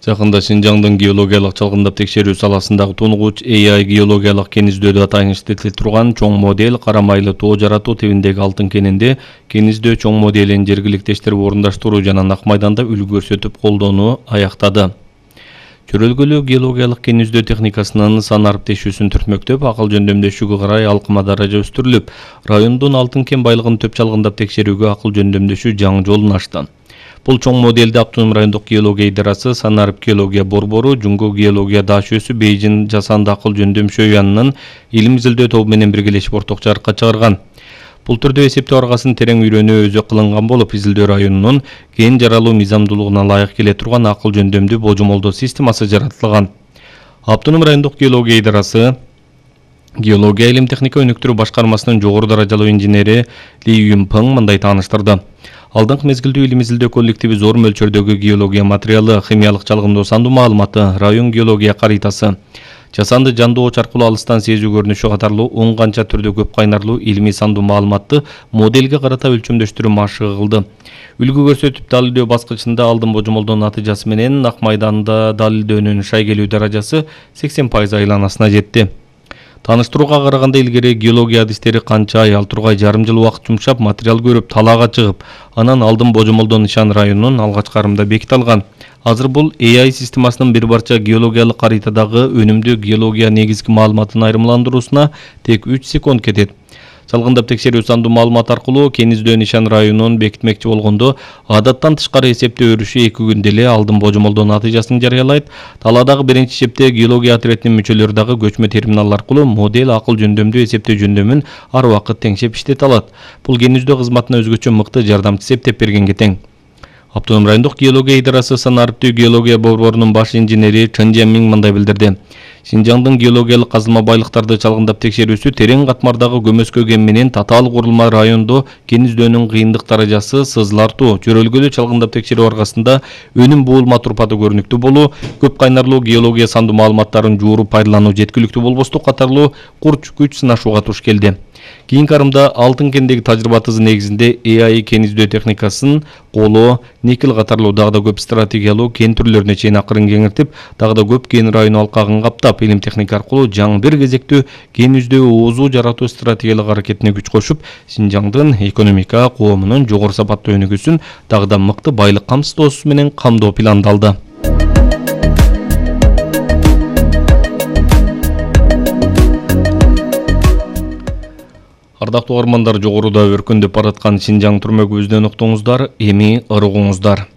Жакында Шинжаңдын геологиялык чалгындап текшерүү саласындагы тунугуч AI геологиялык кен издөөдө тайыныштуу этиле чоң модель кара майлы тоо жаратуу тибиндеги алтын кенинде кен издөө чоң моделин жергиликтештирип орундаштыруу жана Ак майданда үлгү көрсөтүп колдонууну аяктады. Чөрөлгөлүү геологиялык кен издөө техникасынын сан ариптешүүсүн түртмөктөп, акыл жөндөмдөшүүгө карай алкыма даража өстүрүлүп, райондун алтын кен байлыгын төп чалгындап текшерүүгө акыл жөндөмдөшүү жаңы жолун ачты. Бул чоң моделде Автоном райондук геология идарасы, Санарип геология борбору, Жуңгу геология ДАШ-сы, Бейжин жасанды акыл жөндөмшөө уянынын илим изилдөө тобу менен биргелешип орток жарыкка чыгарган. Бул түрдө эсептөө аргасын терең үйрөнүү өзү кылынган болуп, изилдөө районунун кен жаралуу мыйзамдуулугуна ылайык келе турган акыл жөндөмдүү божомолдоо системасы жаратылган. Автоном райондук геология идарасы Геология илим техника өнүктүрүү башкармасынын жогору даражалуу инженери Ли Юнпeng мындай тааныштырды. Алдыңкы мезгилдүү илим изилдөө коллективи зор мөлчөрдөгү геология материалы, химиялык чалгындоо сандуу маалыматы, район геология каритасы, жасанды жандуу оч аркылуу алыстан сезүү көрүнүшү катарлуу 10 канча түрдө көп кайнарлуу илимий сандуу маалыматты моделге карата өлчөмдөштүрүү машыгы кылды. Үлгү көрсөтүп далилдөө баскычында алдын божомолдоо натыйжасы менен Ак майданда далилдөөнүн шайгелүү даражасы 80% айланасына жетти. Тааныштырууга караганда илгери геология адистери канча ай, ал тургай жарым жыл убакыт жумшап, материал көрүп, талаага чыгып, анан алдын божомолдоо нышан районунун алгачкы арымында беките алган. Азыр бул AI системасынын бир барча геологиялык каритадагы өнүмдүү геология негизги маалыматын айрымландыруусуна тек 3 секунд кетет. Чалгындап текшерүү сандуу маалымат аркылуу кен издөө нишан районун бекитмекчи болгондо, адаттан тышкары эсептөө өрүшү 2 күндө эле алдын божомолдоо натыйжасын жарыялайт. Талаадагы биринчи чепте геология отрядынын мүчөлөрү дагы көчмө терминал аркылуу модель акыл жөндөмдүү эсептөө жөндөмүн ар убакыт теңшеп иштете алат. Бул кен издөө кызматына өзгөчө мыкты жардамчы эптеп бергенге тең. Автоном райондук геология идарасы Санариптүү геология борборунун баш инженери Чен Жемин мындай билдирди. Шинжаңдын геологиялык казылма байлыктарды чалгындап текшерүүсү терең катмардагы көмөскө кен менен татаал курулма райондо кен издөөнүн кыйындык даражасы сызылартуу. Чөрөлгөлүү чалгындап текшерүү аркасында өнүм буулма турпаты көрүнүктүү болуу, көп кайнарлуу геология сандуу маалыматтарын жууруп пайдалануу жеткиликтүү болбостук катарлуу курч күч сынашууга туш келди. Кийинки арымда алтын кендеги тажрыйбатыбыз негизинде AI кен издөө техникасын коло, никель катарлуу дагы да көп стратегиялуу кен түрлөрүнө чейин акырын кеңиртип, дагы да көп кен району алкагын каптап, илим техника аркылуу жаңы бир кезектүү кен издөө оозу жаратуу стратегиялык аракетине күч кошуп, Шинжаңдын экономика, коомунун жогору сапаттуу өнүгүүсүн дагы да мыкты байлык камсыздоосу менен камдоо пландалды. Ардактуу угармандар, жогоруда өркүндөп бараткан Шинжаң түрмөгүбүздөн уктуңуздар, эми ырыгыңыздар.